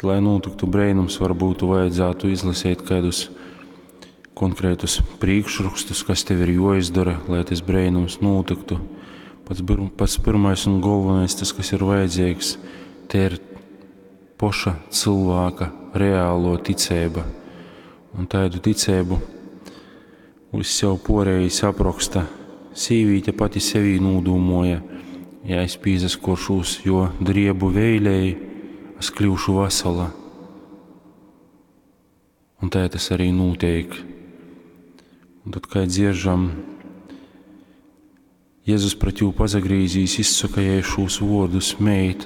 Bet, lai nūtyktu breinums, varbūt vajadzētu izlasīt kādus konkrētus priekšrakstus, kas tev ir jāizdara, lai tas breinums nūtyktu. Pats, pats pirmais un galvenais, tas, kas ir vajadzīgs, te ir poša cilvēka reālo ticība. Un tādu ticību uz sev porējis apraksta. Sīvīte pati sevī nūdūmoja, ja es pīzaskoršūs, jo driebu veilēji, es kļūšu vasala. Un tā tas arī notiek. Un tad, kā dzieržam, Jēzus pret jū pazagrīzīs, izsaka jai šūs vārdus, meit,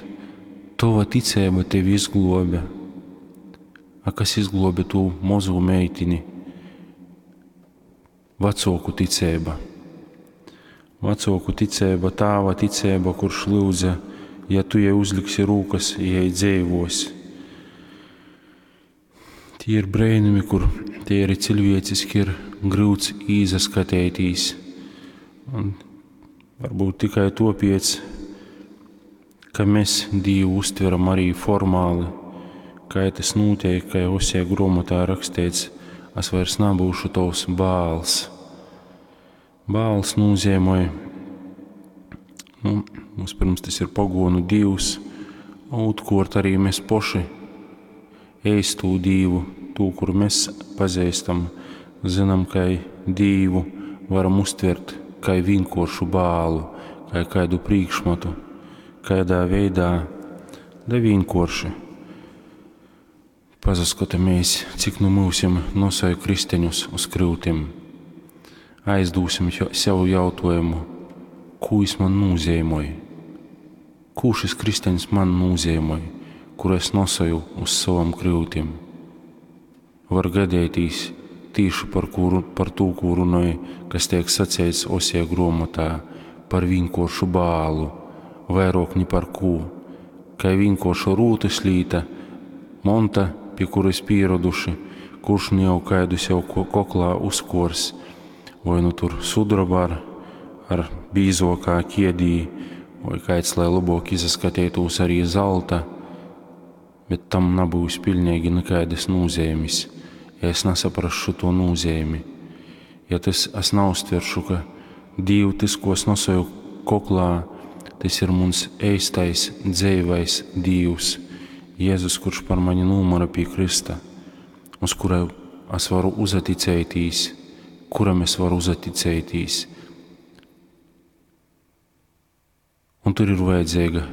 tova ticība tevi izglobe. A kas izglobe tū mozu meitini? Vecāku ticība. Vecāku ticība, tāva ticība, kurš lūdza, ja tu jai uzliksi rūkas, jai dzīvos. Tie ir brēnumi, kur tie ir cilvēciski ir grūts īzaskatētīs. Un varbūt tikai topiec, ka mēs Dievu uztveram arī formāli, kā tas notiek, kā Osija grāmatā rakstīts, es vairs nebūšu tavs bāls. Bāls nozīmē, nu, mums pirms tas ir pagonu dievs, otrkārt arī mēs poši eistū dievu, tū, kuru mēs pazīstam, zinām, ka dievu varam uztvert kā vienkāršu bālu, kā kādu priekšmetu, kādā veidā, da vienkārši. Pazaskatāmies, cik nu mūsim nosauj kristeņus uz kryutim. Aizdūsim sev jautājumu, ko jis man nozīmē? Ko šis kristeņs man nozīmē, kuru es nosoju uz savam kryutim? Var gadētīs tīši par, kuru, par tū, ko runāju, kas tiek sacīts Osija grāmatā, par vienkāršu bālu, vairāk ni par ko, kā vienkārša rūtas līta, monta, pie kuras pieraduši, kurš nu jau kaidu sev koklā uzkors, vai nu tur sudraba ar, ar bīzokā kiedī, vai kāds, lai labāk izaskatītos arī zelta, bet tam nebūs pilnīgi nekādas nozīmes, ja es nesaprašu to nozīmi. Ja tas es neuztveršu, ka Dievu tas, ko es nosoju koklā, tas ir muns eistais, dzīvais Dievs, Jēzus, kurš par mani nomira pie Krista, uz kura es varu uzaticētīs, kuram es varu uzaticētīs. Un tur ir vajadzīga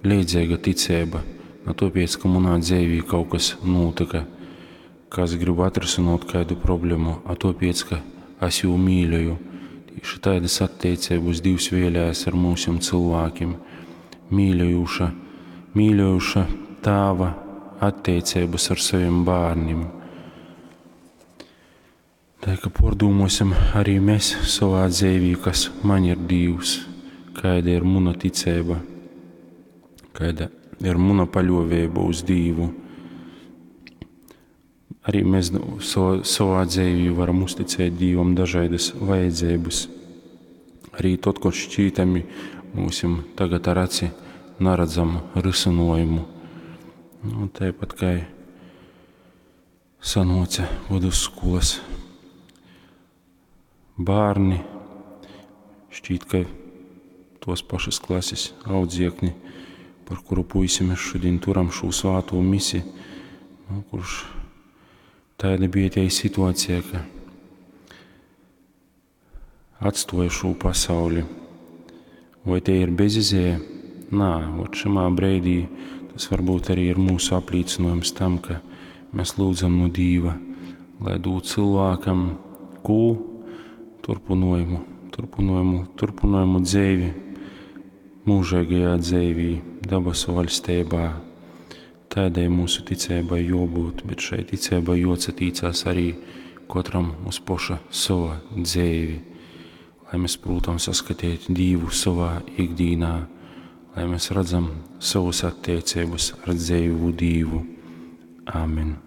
līdzīga ticība, ne tāpēc, ka manā dzīvī kaut kas notika, ka es gribu atrisināt kādu problēmu, a tāpēc, ka es jū mīļoju. Tieši tādas attiecības Dievs vēlējās ar mūsim cilvēkiem. Mīļojuša, mīļojuša tāva attiecības ar saviem bērniem. Tā ka pārdomāsim arī mēs savā dzīvī, kas man ir Dievs, kāda ir mana ticība, kāda ir mana paļāvība uz Dievu. Arī mēs savā dzīvī varam uzticēt Dievam dažādas vajadzības. Arī tad, kad šķītami mūsim tagad ar aci neredzam risinājumu. Nu, tāpat kā sanoca vidusskolas bērni, šķiet, ka tos pašas klases audziekni, par kuru puisi mēs šodien turam šo svāto misi, nu, kurš tāda bija tie situācija, ka atstoja šo pasauli. Vai tie ir bezizēja? Nā, ot šamā breidī tas varbūt arī ir mūsu apliecinājums tam, ka mēs lūdzam no Dīva, lai dod cilvēkam kū turpinājumu, turpinājumu, turpinājumu dzīvi, mūžīgajā dzīvī, dabasu valstībā. Tādai mūsu ticībai jābūt, bet šai ticībai jāatsatīcās arī katram uz poša sava dzīvi, lai mēs, protams, saskatīt Dievu savā ikdienā, lai mēs redzam savus attiecības ar dzīvu Dievu. Āmen.